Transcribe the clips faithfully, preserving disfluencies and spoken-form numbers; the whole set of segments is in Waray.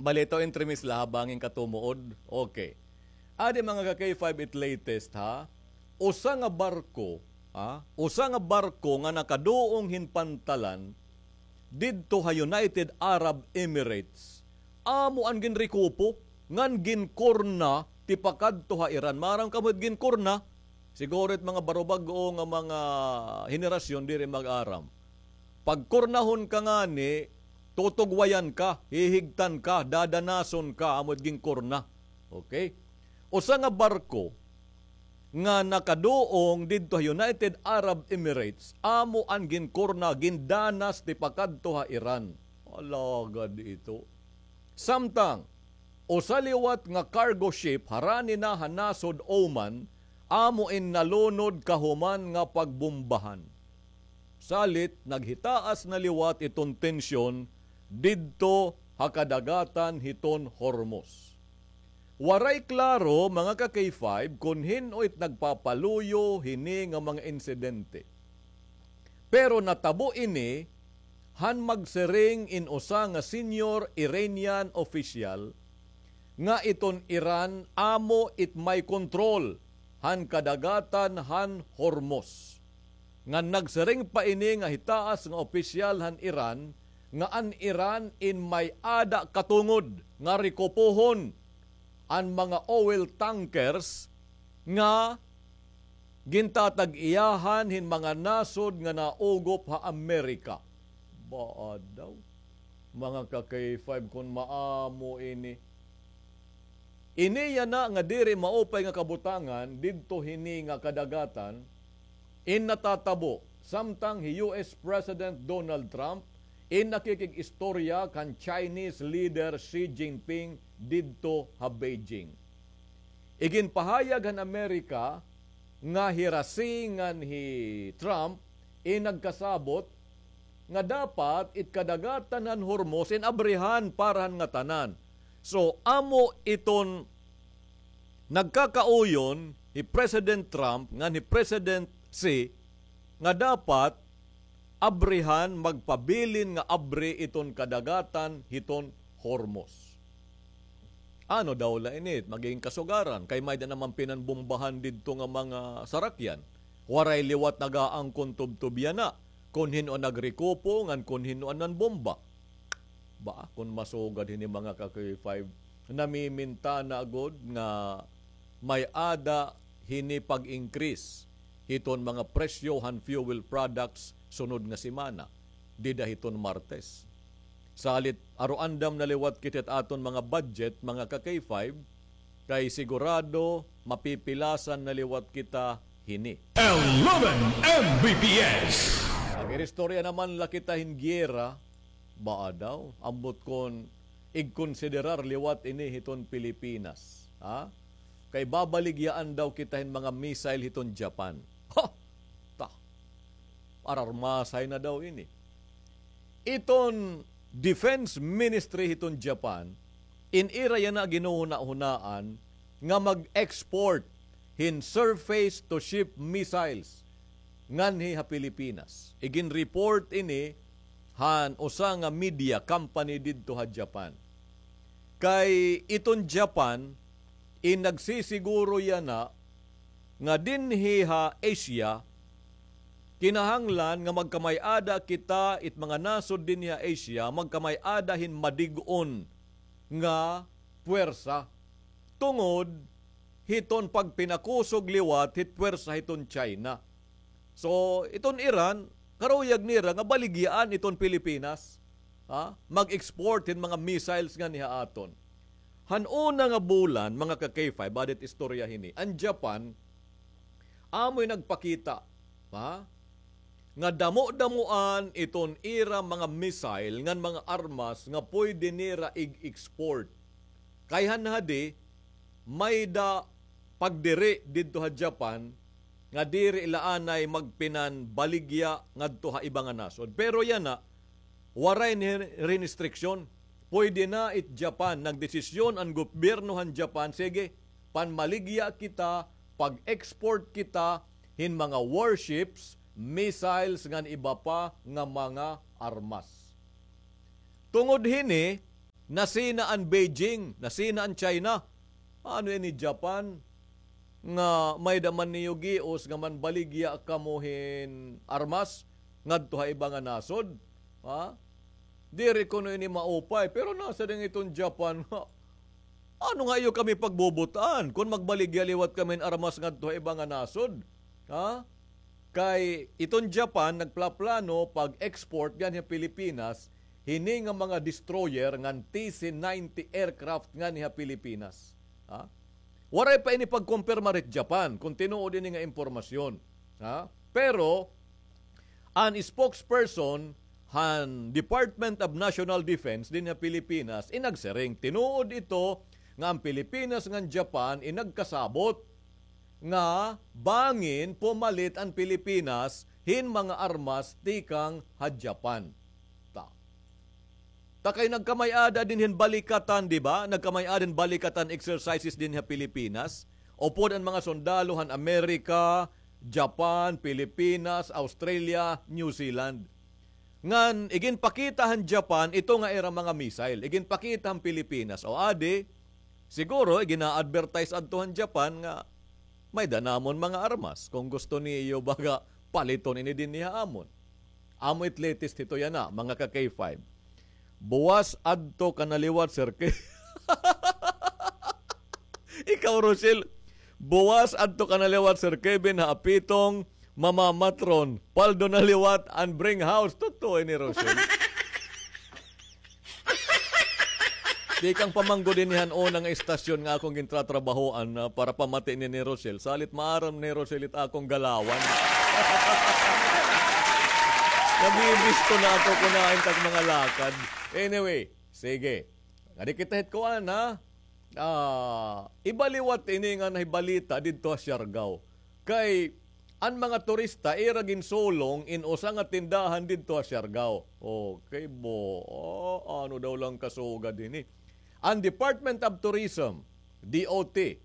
Balitaw entremis la ha bangin katumuod. Okay. Adi, mga ka-K five, it latest, ha. Usa nga barko, ha? Usa nga barko nga nakaduong hin pantalan didto ha United Arab Emirates. Amo an ginrikupo ngan ginkorna tipakadto ha Iran. Maaram kamo it ginkorna? Siguro it mga barubag-o nga mga henerasyon diri mag-aram. Pagkornahon ka ngani, tutugwayan ka, hihigtan ka, dadanason ka, amo it ginkorna. Okay? Usa nga barko nga nakaduong didto ha United Arab Emirates, amo an ginkorna, gindanas tipakadto ha Iran. Alagad ito. Samtang, usa liwat nga cargo ship harani na ha nasod Oman, amo in nalunod kahuman nga pagbombahan. Salit, naghitaas na liwat iton tensyon didto ha kadagatan hiton Hormuz. Waray klaro, mga ka-K five, kon hin-o it nagpapaluyo hini nga mga insidente. Pero natabo ini han magsiring in usa nga senior Iranian official nga iton Iran amo it may kontrol han kadagatan han Hormuz. Ngan nagsiring pa ini nga hitaas nga opisyal han Iran nga an Iran in may-ada katungod nga rekupohon an mga oil tankers nga gintatag-iyahan hin mga nasod nga naugop ha Amerika. Baa daw, mga ka-K five, kon maamo ini. Ini yana nga diri maupay nga kabutangan didto hini nga kadagatan, in natatabo samtang hi U S President Donald Trump in nakikig-istorya kan Chinese leader Xi Jinping didto ha Beijing. Iginpahayag han Amerika nga hi Xi ngan hi Trump in nagkasabot nga dapat it kadagatan han Hormuz in abrihan para han ngatanan. So, amo iton nagkakauyon hi President Trump ngan hi President Xi nga dapat abrihan, magpabilin nga abri iton kadagatan hiton Hormuz. Ano daw la ini magigin kasugaran? Kay may-ada naman pinanbombahan didto nga mga sarakyan. Waray liwat nag-aangkon tubtob yana kon hin-o an nagrekupo ngan kon hin-o an nanbomba. Ba, kon masugad hini, mga ka-K five, namimintana gud nga may-ada hini pag-increase hiton mga presyo han fuel products sunod nga semana, dida hiton Martes. Salit, aruandam na liwat kita hit aton mga budget, mga ka-K five, kay sigurado mapipilasan na liwat kita hini. Eleven M B P S. Nag-iristorya naman la kita hin giyera, baa daw, ambot kon igkonsiderar liwat ini hiton Pilipinas, ha? Kay babaligyaan daw kita hin mga missile hiton Japan. Ha! Ta! Ararmasay na daw ini. Iton Defense Ministry hiton Japan, in ira yana ginhuhunahunaan nga mag-export hin surface-to-ship missiles nganhi ha Pilipinas. Igin-report ini han usa nga media company didto ha Japan. Kay iton Japan, in nagsisiguro yana nga dinhi ha Asia, kinahanglan nga magkamay-ada kita, it mga nasod dinhi ha Asia, magkamay-ada hin madig-on nga puwersa tungod hiton pagpinakusog liwat hit puwersa hiton China. So, iton Iran, karuyag nira nga baligyaan iton Pilipinas, ha? Mag-export hin mga missiles nganhi ha aton. Han una nga bulan, mga ka-K five, adi it istorya hini, an Japan, amoy nagpakita, ha, nga damo-damoan iton ira mga missile ngan mga armas nga pwede nira ig-export. Kay han hadi, may-ada pagdiri didto ha Japan nga diri la anay magpinanbaligya ngadto ha iba nga nasod. Pero yana, waray ni restriction. Pwede na it Japan, nagdesisyon an gobyerno han Japan, sige, panmaligya kita, pag-export kita hin mga warships, missiles, ngan iba pa nga mga armas. Tungod hini, Nasina an Beijing, nasina an China. Ano ini Japan? Nga may-ada man niyo gios nga manbaligya kamo hin armas ngadto ha iba nga nasod? Ha? Diri kuno ini maupay, pero nasiring iton Japan nga, ano nga iyo kami pagbubut-an kon magbaligya liwat kami hin armas ngadto ha iba nga nasod? Ha? Kay iton Japan nagplaplano pag-export dyan ha Pilipinas hini nga mga destroyer ngan T C ninety aircraft ngani ha Pilipinas. Ha? Waray pa ini pagkumpirmar hit Japan kon tinuod ini nga impormasyon. Ha? Pero an spokesperson han Department of National Defense dinhi ha Pilipinas, inagsiring, tinuod ito nga an Pilipinas ngan Japan inagkasabot nga bangin pumalit an Pilipinas hin mga armas tikang ha Japan. Ta. Ta kay nagkamay-ada dinhi hin balikatan, di ba? Nagkamay-ada hin balikatan exercises dinhi ha Pilipinas. Upod an mga sundalo han Amerika, Japan, Pilipinas, Australia, New Zealand. Ngan iginpakita han Japan ito nga ira mga missile. Iginpakita han Pilipinas. O adi, siguro igina-advertise adto han Japan nga may-ada namon mga armas. Kon gusto niyo baga paliton ini dinhi ha amon. Amo it latest hito yana, mga ka-K five. Buwas adto ka na liwat, Sir Ke-, Ikaw, Rochelle, buwas adto ka na liwat, Sir Kevin, ha apitong mamamatron. Paldo na liwat an bring house. Totoo ini, Rochelle. Tikang pa man gud ini han una nga istasyon nga akong gintratrabahoan, ah, para pamati ni, ni Rochelle. Salit maaram ni Rochelle it akong galawan. Nabibisto na ako kon hain tak mga lakad. Anyway, sige. Ngadi kita hit kuan, ha? Ah, iba liwat ini nga nahibalita didto ha Siargao. Kay an mga turista ira ginsulong in usa nga tindahan didto ha Siargao. Okay, bo. Ah, ano daw lang kasugad ini? An Department of Tourism, D O T,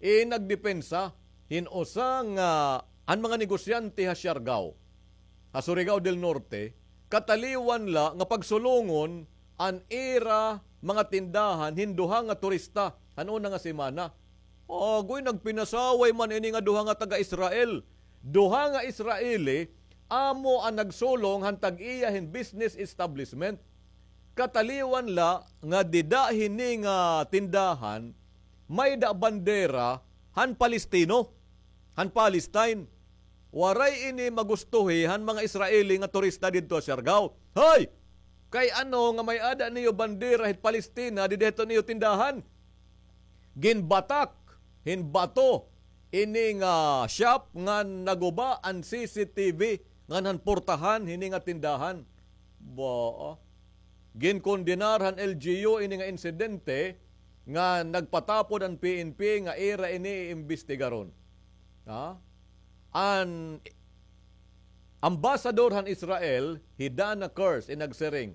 eh, nagdepensa hin usa nga an mga negosyante ha Siargao, ha Surigao del Norte, kataliwan la nga pagsulongon an ira mga tindahan hin duha nga turista han una nga semana. Agoy, nagpinasaway man ini nga duha nga taga-Israel. Duha nga Israeli amo an nagsulong han tag-iya hin business establishment. Kataliwan la nga dida hini nga tindahan may-ada bandera han Palestino, han Palestine. Waray ini magustuhi han mga Israeli nga turista didto ha Siargao. Hoy! Kay ano nga may-ada niyo bandera hit Palestina dida hito niyo tindahan? Ginbatak hin bato ini nga shop ngan naguba an C C T V ngan han portahan hini nga tindahan. Ba, ginkondenar han L G U ini nga insidente nga nagpatapod an P N P nga ira ini iimbestigaron. Ha? An ambasador han Israel, hi Dana Kurz, in nagsiring,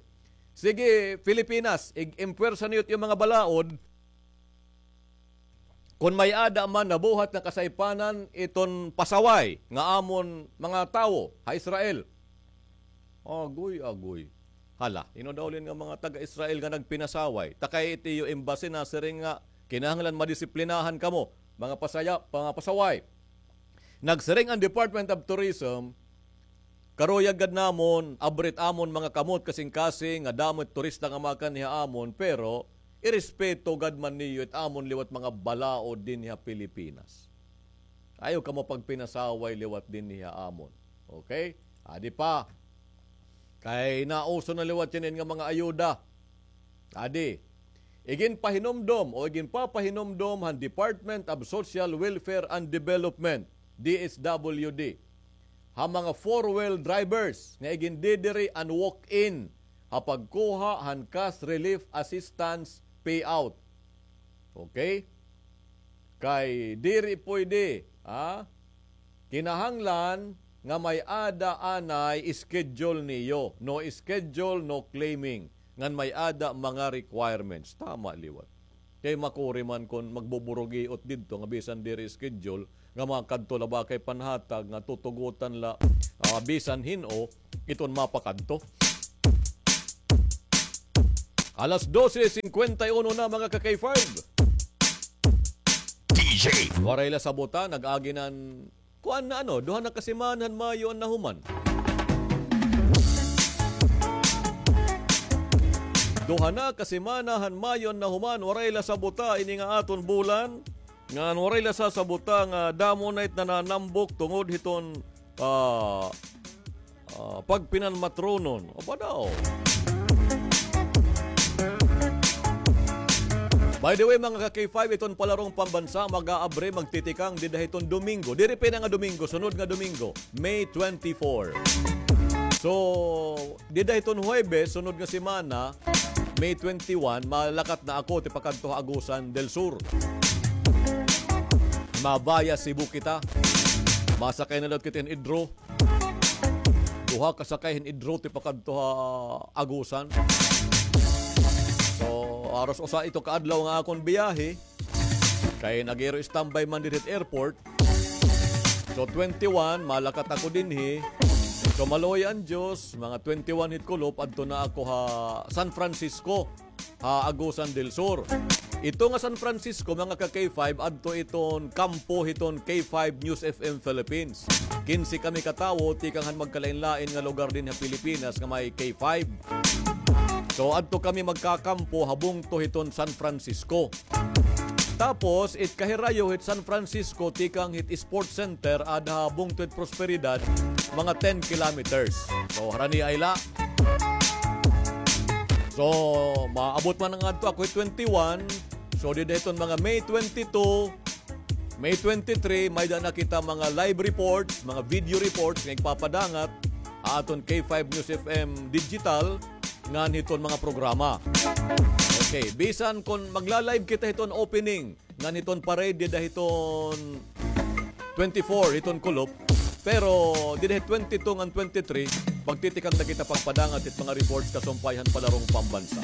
sige, Pilipinas, ig-impwersa niyo it iyo mga balaod, kon may-ada man nabuhat nga kasaypanan iton pasaway nga amon mga tawo ha Israel. Agoy, agoy. Hala, hin-o daw liwat nga mga taga-Israel nga nagpinasaway? Ta kay it iyo embassy nasiring nga kinahanglan madisiplinahan kamo, mga pasaya-, mga pasaway. Nagsiring an Department of Tourism, karuyag gad namon, abri it amon mga kamot kasingkasing nga damo it turista nga makanhi ha amon, pero irespeto gad man niyo it amon liwat mga balaod dinhi ha Pilipinas. Ayaw kamo pagpinasaway liwat dinhi ha amon. Okay? Adi pa. Kay nauso na liwat ini nga mga ayuda. Adi, iginpahinumdom o iginpapahinumdom han Department of Social Welfare and Development, D S W D, ha mga four-wheel drivers nga igindidiri an walk-in ha pagkuha han cash relief assistance payout. Okay? Kay diri pwede, ha? Kinahanglan nga may-ada anay schedule niyo. No schedule, no claiming. Ngan may-ada mga requirements. Tama liwat. Kay makuri man kon magbuburugiot didto nga bisan diri schedule, nga makadto la ba kay panhatag nga tutugotan la, ah, bisan hin-o iton mapakadto. Alas dose singkwenta y uno na, mga ka-K five. D J. Waray la sabuta, nag-agi na an, kuan na ano, duha na ka semana han Mayo an nahuman. Duha na ka semana han Mayo an nahuman, waray la sabuta ini nga aton bulan. Ngan waray la sasabuta nga damo na it nananambok tungod hiton, ah, ah, pagpinanmatronon. Aba daw. By the way, mga ka-K five, iton Palarong Pambansa, mag-aabre, magtitikang, dida hiton Domingo. Diri pa ini nga Domingo, sunod nga Domingo, May twenty-four. So, dida hiton Huwebes, sunod nga semana, May twenty-one, malakat na ako tipakadto ha Agusan del Sur. Mabaya Cebu kita. Masakay na daw kita hin idro. Duha ka sakay hin idro tipakadto ha Agusan. So, haros usa ito ka adlaw nga akon biyahe. Kay nag-aero standby man diri hit airport. So, twenty-one, malakat ako dinhi. So, maluoy an Diyos, mga twenty-one hit kulop, adto na ako ha San Francisco, ha Agusan del Sur. Ito nga San Francisco, mga ka-K five, adto iton kampo hiton K five News F M Philippines. Kinse kami ka tawo, tikang han magkalain-lain nga lugar dinhi ha Pilipinas nga may K five. So, adto kami magkakampo ha bungto hiton San Francisco. Tapos, it kahirayo hit San Francisco, tikang hit Sports Center, ada ha bungto hit Prosperidad, mga ten kilometers. So, harani ay la. So, maabot man ngadto ako hit twenty-one. So, dida hiton mga May twenty-two, May twenty-three, may-ada na kita mga live reports, mga video reports nga igpapadangat ha aton K five News F M Digital ngan hiton mga programa. Okay, bisan kon magla-live kita hiton opening ngan hiton parade dida hiton twenty-four hiton kulop, pero dida hit twenty-two ngan twenty-three, magtitikang na kita pagpadangat hit mga reports kasumpay han Palarong Pambansa.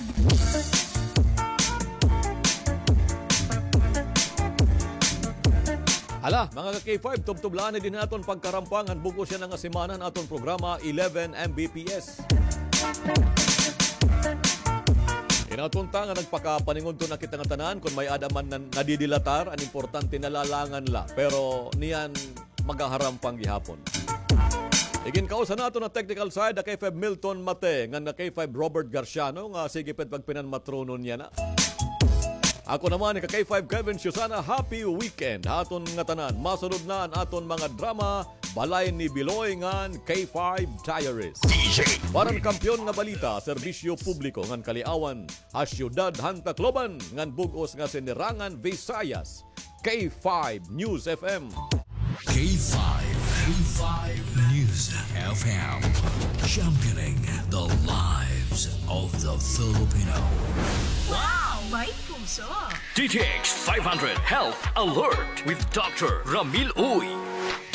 Hala, mga ka-K five, tubtob la anay dinhi aton pagkarampang han bug-os yana nga semana han aton programa, eleven M B P S. Hinaot unta nga nagpakapaningudto na kita ngatanan, kon may-ada man nan-, nadidilatar, an importante nalalangan la. Pero niyan, magaharampang gihapon. Iginkaus han aton nga technical side, ha K five Milton Mate, ngan ha K five Robert Garciano, nga sige pa it pagpinanmatronon yana. Ako naman, ha K five Kevin Susana, happy weekend ha aton ngatanan. Masunod na an aton mga drama, Balay ni Biloy ngan K five Diaries. D J. Para han kampiyon nga balita, serbisyo publiko ngan kaliawan, ha siyudad han Tacloban ngan bug-os nga sinirangan Visayas, K five News F M. K five, K five News F M, championing the lives of the Filipino. Wow! May puso! D T X five hundred Health Alert with Doctor Ramil Uy.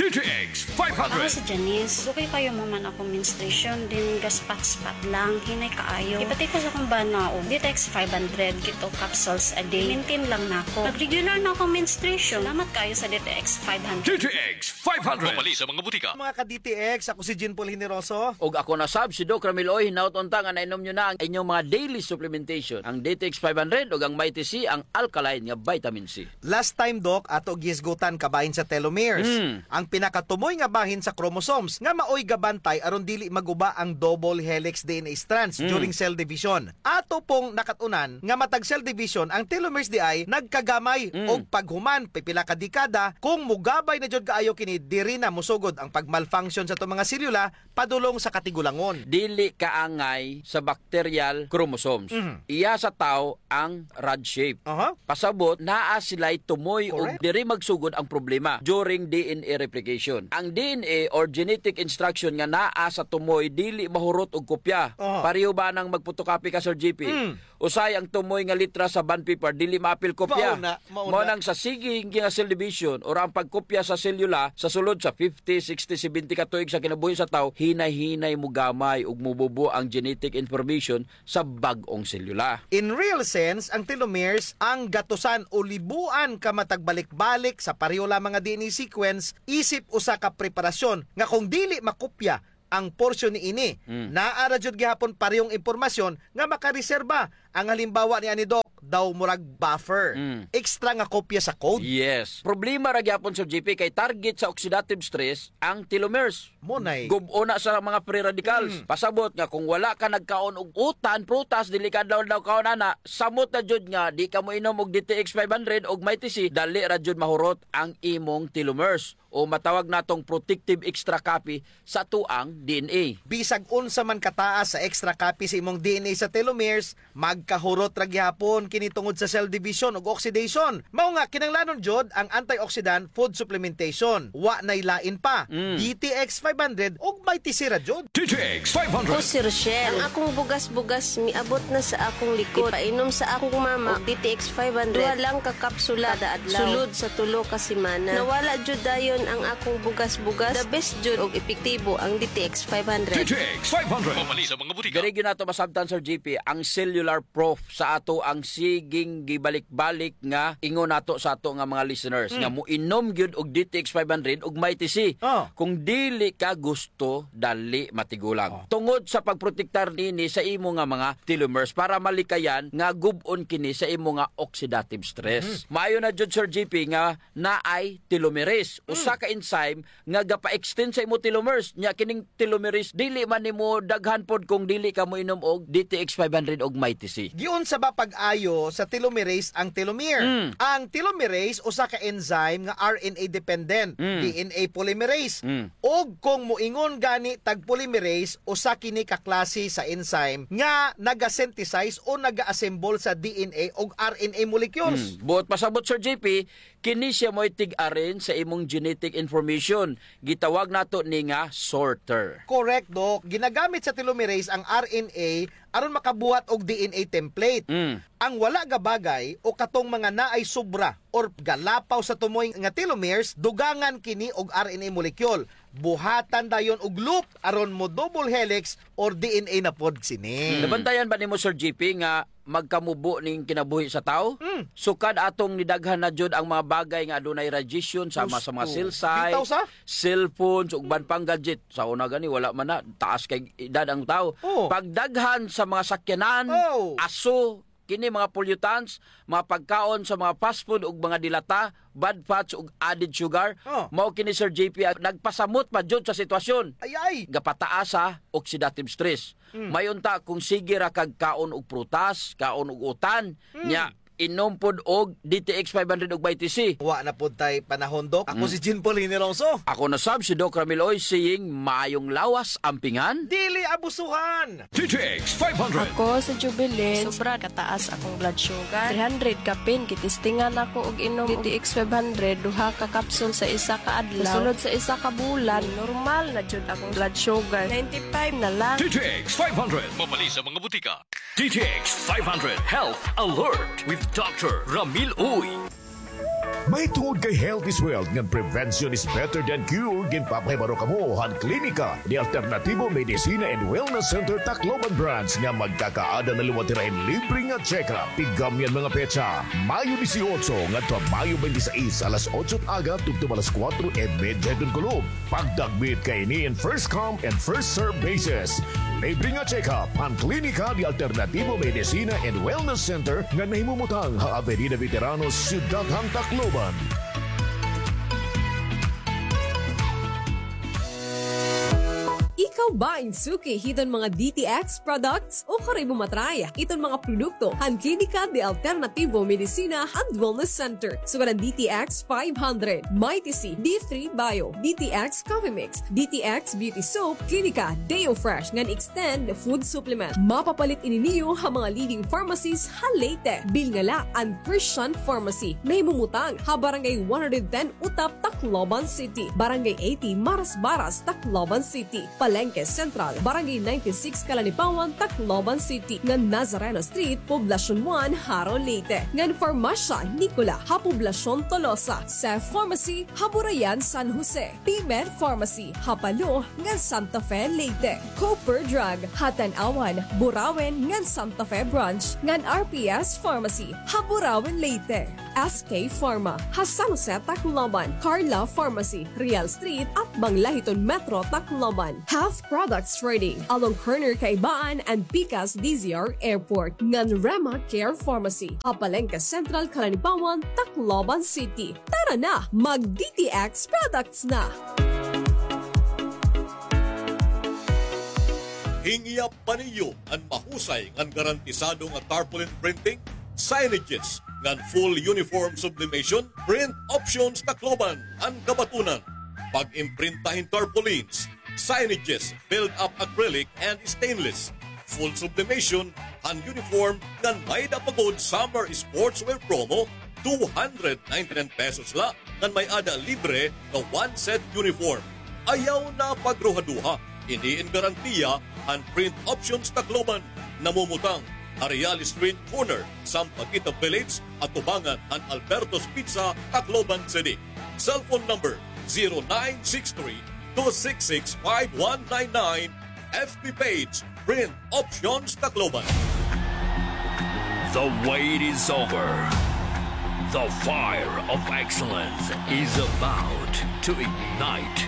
D T X five hundred. Ako si Janice. Dugay kaayo mahuman akon menstruation, then gaspat-spat lang, hinay kaayo. Ipati ko sa akon bana og D T X five hundred, keto capsules a day. Maintain lang nako. Nag-regular na akon menstruation. Salamat kaayo sa D T X five hundred. D T X five hundred. Mapalit sa mga butika. Mga ka-D T X, ako si Jean Paul Generoso. Ug ako na sab si Doc Ramil Uy, hinaot unta nga nainom niyo na ang inyong mga daily supplementation, ang D T X five hundred ug ang Mighty C, ang alkaline nga vitamin C. Last time, Doc, ato gihisgutan kabahin sa telomeres. Mm. Ang pinakatumoy nga bahin sa chromosomes nga maoy gabantay aron dili maguba ang double helix D N A strands, mm, during cell division. Ato pong nakat-unan nga matag cell division ang telomeres diay nagkagamay, mm, og paghuman pipila ka dekada, kung mogabay na jud kaayo kini, diri na mosugod ang pagmalfunction sa ato mga selula padulong sa katigulangon. Dili kaangay sa bacterial chromosomes. Mhm. Iya sa tawo ang rod shape. Aha. Pasabot, naa sila'y tumoy ug, correct, diri magsugod ang problema during D N A replication. Ang D N A or genetic instruction nga naa sa tumoy dili mahurot og kopya. Aha. Pareho ba nang magpotocopy ka, Sir J P? Mm. Usahay ang tumoy nga letra sa bond paper, dili maapil kopya. Mao na, mao na. Mao nang sa sige nga cell division or ang pagkopya sa selula sa sulod sa fifty, sixty, seventy ka tuig sa kinabuhi sa tawo, hinay-hinay mogamay ug mobubo ang genetic information sa bag-ong selula. In real sense, ang telomeres ang gatusan o libuan ka matag balik-balik sa pareho lamang nga D N A sequence, isip usa ka preparasyon nga kung dili makopya, ang porsyon niini. Mm. Naa ra jud gihapon parehong impormasyon nga makareserba. Ang halimbawa niani, Doc, daw murag buffer. Mm. Extra nga kopya sa code. Yes. Problema ra gihapon, Sir G P, kay target sa oxidative stress ang telomeres. Mo nay. Gub-on na sa mga free radicals. Mm. Pasabot nga kung wala ka nagkaon og utan, prutas, dili ka daw, daw kaon ana, samot na jud nga di ka moinom og D T X five hundred og Mighty C, dali ra jud mahurot ang imong telomeres. O matawag natong protective extra copy sa atoang D N A. Bisag unsa man kataas sa extra copy sa imong D N A sa telomeres, magkahurot ra gihapon kini tungod sa cell division ug oxidation. Mao nga, kinahanglanon jud ang antioxidant food supplementation. Wa nay lain pa. Mm. D T X five hundred ug Mighty C ra jud. D T X five hundred. Ako si Rochelle. Ang akong bugas-bugas miabot na sa akong likod. Painom sa akong mama og D T X five hundred. Duha lang ka kapsula kada adlaw. Sulod sa tulo ka semana. Nawala jud dayon ang akong bugas-bugas. The best jud og epektibo ang D T X five hundred. D T X five hundred. Mapalit sa mga butika. Diri gyud nato masabtan, Sir G P, ang cellular proof sa atoang siging gibalik-balik nga ingon nato sa ato nga mga listeners, mm, nga moinom gyud og D T X five hundred ug Mighty C. Oh. Kung dili ka gusto, dali matigulang. Oh. Tungod sa pagprotektar nini sa imo nga mga telomeres para malikayan nga gub-on kini sa imo nga oxidative stress. Mm. Maayo na jud, Sir G P, nga naay telomerase, mm, usa ka enzyme nga gapa-extend sa imo telomeres. Nya kining telomerase, dili man nimo daghan pod kung dili ka moinom og D T X five hundred og Mighty C. Giunsa ba pag-ayo sa telomerase ang telomere? Mm. Ang telomerase usa ka enzyme nga R N A dependent, mm, D N A polymerase. Mm. Ug kung moingon gani tag polymerase, usa kini ka klase sa enzyme nga naga-synthesize o naga-assemble sa D N A ug R N A molecules. Mm. Buot pasabot, Sir G P, kini siya maoy tig-arrange sa imong genetic information. Gitawag nato ni nga sorter. Correct, Doc. Ginagamit sa telomerase ang R N A aron makabuhat og D N A template. Mm. Ang wala gabagay o katong mga naay sobra or galapaw sa tumoy nga telomeres, dugangan kini og R N A molecule. Buhatan dayon og loop aron mo double helix or D N A na pod sini. Hmm. Nabantayan ba nimo, Sir G P, nga magkamubo ning kinabuhi sa tawo? Hmm. Sukad atong nidaghan na jud ang mga bagay nga adunay radiation sama sa mga cell site, bitaw sa cellphones, ug uban pang gadget. Sa una gani, wala man na, taas kay edad ang tawo. Oh. Pagdaghan sa mga sakyanan, oh, aso, kini mga pollutants, mga pagkaon sa mga fast food ug mga dilata, bad fats ug added sugar. Oh. Mao kini, Sir J P, ang nagpasamot pa jud sa sitwasyon. Ay, ay. Gapataas sa oxidative stress. Mm. May unta kung sige ra kag kaon og prutas, kaon og utan, mm, nya inom pod og D T X five hundred ug Mighty C. Wa na pod tay panahon, Doc. Ako, mm, si Jean Paul Hinilongso. Ako na sab si Doc Ramil Oy, saying, maayong lawas, ampingan. Dili abusuhan. D T X five hundred. Ako si Jubilin. Sobra kataas akong blood sugar. Three hundred kapin, gitistingan ako og inom D T X five hundred, duha ka capsule sa isa ka adlaw. Sulod sa isa ka bulan, normal na jud akong blood sugar. Ninety-five na lang. D T X five hundred. Mapalit sa mga butika. D T X five hundred Health Alert with Doctor Ramil Uy. Mahitungod kay health is wealth ngan prevention is better than cure, ginpapahibaro kamo han Klinika de Alternativo Medicina and Wellness Center Tacloban Branch nga magkakaada na liwat hira hin libre nga check-up. Tiggamyan mga petsa, Mayo dieciocho ngadto ha Mayo twenty-six, alas otso aga tubtob alas kuwatro y medya hiton kulop. Pagdagmit kaini in first come and first serve basis. Libre nga check-up han Klinika de Alternativo Medicina and Wellness Center nga nahimumutang ha Avenida Veteranos, Syudad han Tacloban. Ikaw ba in suki hiton mga D T X products? O kari mo matry iton mga produkto han Klinika de Alternativo Medicina and Wellness Center. Sugad an D T X five hundred, Mighty C, D three Bio, D T X Coffee Mix, D T X Beauty Soap, Klinika Deo Fresh ngan Extend Food Supplement. Mapapalit ini niyo ha mga leading pharmacies ha Leyte. Bilngala an Christian Pharmacy, nahimumutang ha Barangay one hundred ten Utap, Tacloban City, Barangay eighty Marasbaras, Tacloban City, Palengke Central, Barangay ninety-six Calanipawan, Tacloban City, ngan Nazareno Street, Poblacion one, Jaro, Leyte, ngan Farmacia Nicola ha Poblacion Tolosa, Cef Pharmacy ha Burayan, San Jose, P-Med Pharmacy ha Palo ngan Santa Fe, Leyte, Cooper Drug ha Tanauan, Burauen ngan Santa Fe Branch, ngan R P S Pharmacy ha Burauen, Leyte. S K Pharma, ha San Jose, Tacloban. Carla Pharmacy, Real Street, atbang la hiton Metro, Tacloban. Have products ready along corner Kaibaan and Pikas D Z R Airport, ngan Rema Care Pharmacy, ha Palengke Central, Calanipawan, Tacloban City. Tara na, mag D T X products na! Hingyap pa niyo an mahusay ngan garantisado nga tarpaulin printing, signages, ngan full uniform sublimation? Print Options Tacloban an kabatunan. Pag-imprinta hin tarpaulins, signages, build-up acrylic and stainless, full sublimation han uniform, ngan may-ada pa gud summer sportswear promo, two hundred ninety-nine pesos la, ngan may-ada libre nga one set uniform. Ayaw na pagruhaduha, ini in garantiya han Print Options Tacloban, namumutang ha Real Street, corner Sampaguita Village, atubangan han Alberto's Pizza, Tacloban City. Cellphone number, zero nine six three, two six six, five one nine nine. F B page, Print Options Tacloban. The wait is over. The fire of excellence is about to ignite.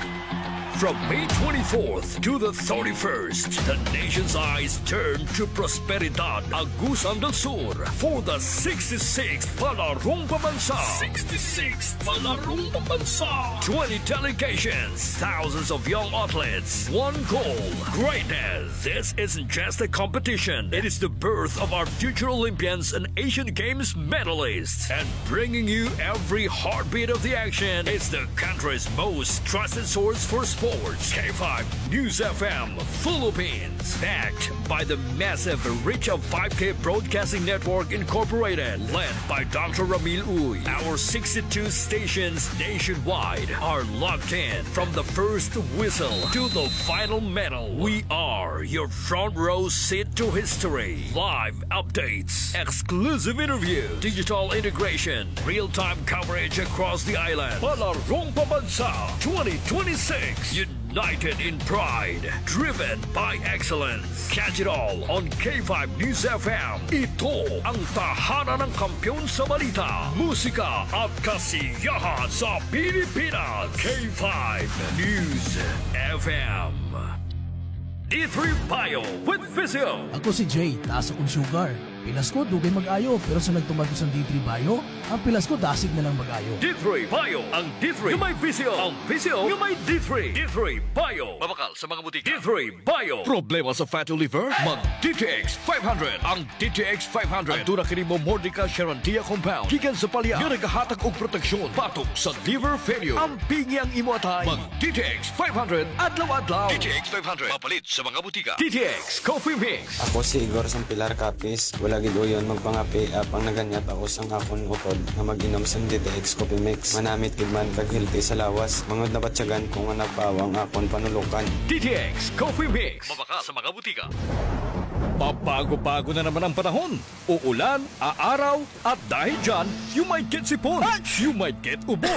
From May twenty-fourth to the thirty-first, the nation's eyes turn to Prosperidad, Agusan del Sur, for the sixty-sixth Palarong Pambansa. Sixty-sixth Palarong Pambansa. Twenty delegations, thousands of young athletes, one goal, greatness. This isn't just a competition. It is the birth of our future Olympians and Asian Games medalists. And bringing you every heartbeat of the action is the country's most trusted source for sports, K five News F M Philippines. Backed by the massive reach of five K Broadcasting Network Incorporated, led by Doctor Ramil Uy. Our sixty-two stations nationwide are locked in from the first whistle to the final medal. We are your front row seat to history. Live updates, exclusive interview, digital integration, real-time coverage across the island. Palarong Pambansa twenty twenty-six. United in pride, driven by excellence. Catch it all on K five News F M. Ito ang tahanan ng kampiyon sa balita, musika at kasiyahan sa Pilipinas. K five News F M. D three Bio with Visio. Ako si Jay, taas akon sugar. Pilas ko, dugay mag-ayo, pero sa nagtumar ko sa D three Bio, ang pilas ko dasig na lang mag-ayo. D three Bio, ang D three nga may Visio, ang Visio nga may D three. D three Bio. Mabakal sa mga butika. D three Bio. Problema sa fatty liver? Mag D T X five hundred. Ang D T X five hundred. Aduna kini Momordica charantia compound gikan sa palya nga nagahatag og proteksyon batok sa liver failure. Ampingi ang imo atay. Mag D T X five hundred adlaw-adlaw. D T X five hundred. Mapalit sa mga butika. D T X Coffee Mix. Ako si Igor Sampilar Capiz. Wala gid uyon magpangape, apang naganyat ako sang akon utod nga mag-inom sang D T X Coffee Mix. Manamit gid man kag healthy sa lawas. Mangud nabatyagan ko nga nagpaawa ang akon panulokan. D T X Coffee Mix. Mabakal sa mga butika. Pabago-bago na naman ang panahon. Uulan, aaraw, at dahil dyan, you might get sipon. Ach! You might get ubo.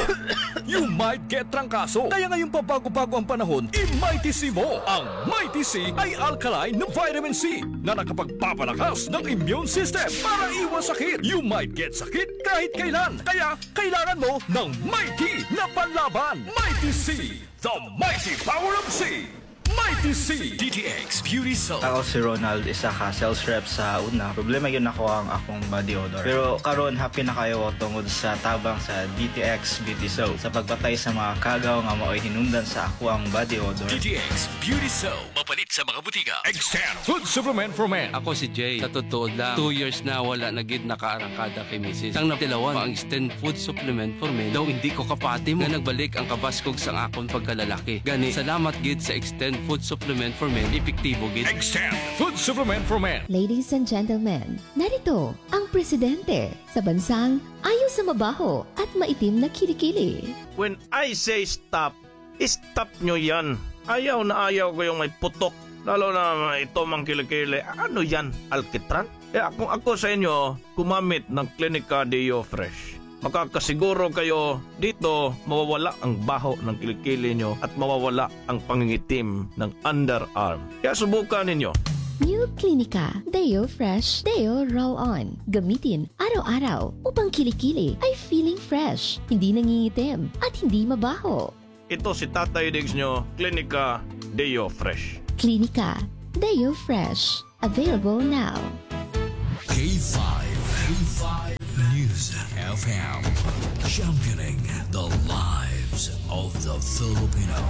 You might get trangkaso. Kaya ngayong pabago-bago ang panahon, i-Mighty C mo. Ang Mighty C ay alkaline na vitamin C na nakapagpapalakas ng immune system para iwas sakit. You might get sakit kahit kailan. Kaya kailangan mo ng Mighty na panlaban. Mighty C, the mighty power of C. Mighty C. D T X Beauty Soap. Ako si Ronald, isa ka sales rep sa una. Problema gyud nako ang akong body odor. Pero karon, happy na kaayo ako tungod sa tabang sa D T X Beauty Soap sa pagpatay sa mga kagaw nga maoy hinungdan sa akoang body odor. D T X Beauty Soap. Mapalit sa mga butika. Extend Food Supplement for Men. Ako si Jay. Sa totoo lang, two years na wala na gid nakaarangkada kay misis. Sang natilawan pa ang Extend Food Supplement for Men, daw indi ko kapati mo nga nagbalik ang kabaskog sang akon pagkalalaki. Gani, salamat gid sa Extend Food Supplement for Men, epektibo gid. Extend Food Supplement for Men. Ladies and gentlemen, narito ang presidente sa bansang ayaw sa mabaho at maitim na kilikili. When I say stop, stop nyo yan. Ayaw na ayaw ko yung may putok. Lalo na may itom ang kilikili. Ano yan? Alkitran? Kaya kung ako sa inyo, gumamit ng Clinica Deo Fresh. Makakasiguro kayo dito mawawala ang baho ng kilikili nyo at mawawala ang pangingitim ng underarm. Kaya subukan ninyo. New Clinica Deo Fresh Deo Roll-On. Gamitin araw-araw upang kilikili ay feeling fresh, hindi nangingitim, at hindi mabaho. Ito si Tatay Diggs nyo, Klinika Deo Fresh. Klinika Deo Fresh. Available now. K five, K five News F M, championing the lives of the Filipino.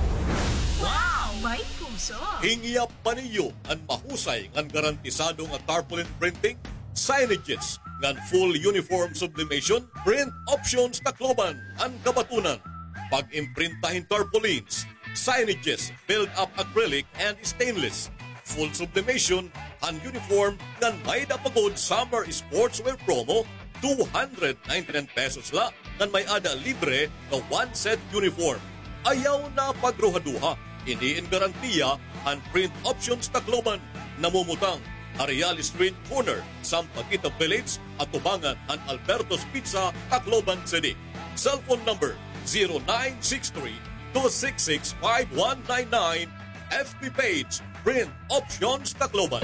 Wow! May puso! Hingiap pa niyo an mahusay ngan garantisado nga tarpaulin printing, signages, ngan full uniform sublimation, Print Options Tacloban an kabatunan. Pag-imprinta hin tarpaulins, signages, build-up acrylic and stainless, full sublimation han uniform ngan may-ada pa gud summer sportswear promo, two hundred ninety-nine pesos la ngan may-ada libre nga one set uniform. Ayaw na pagruhaduha, ini in garantiya han Print Options Tacloban. Namumutang ha Real Street corner, Sampaguita Village, atubangan han Alberto's Pizza, Tacloban City. Cellphone number zero nine six three, two six six, five one nine nine. F B page, Print Options Tacloban.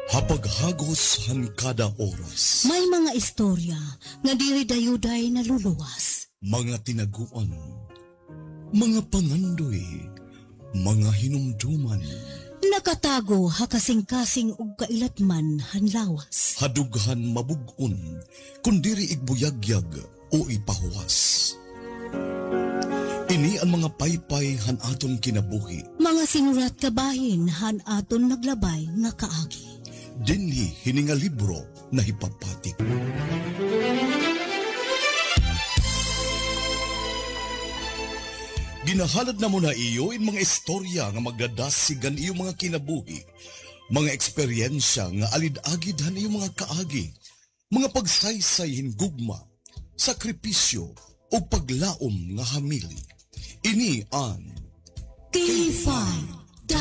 Ha paghagos han kada oras. May mga istorya nga diri dayuday naluluwas. Mga tinaguan, mga pangandoy, mga hinumduman. Nakatago ha kasingkasing ug kailatman han lawas. Ha dughan mabug-on, kun diri igbuyagyag o ipahuwas. Ini an mga paypay han aton kinabuhi. Mga sinurat kabahin han aton naglabay nga kaagi. Dinhi hini nga libro nahipapatik. Ginahalad namon ha iyo in mga istorya nga magdadasig han iyo mga kinabuhi, mga eksperyensya nga alid-agid han iyo mga kaagi, mga pagsaysay hin gugma, sakripisyo, ug paglaom nga hamili. Ini an K five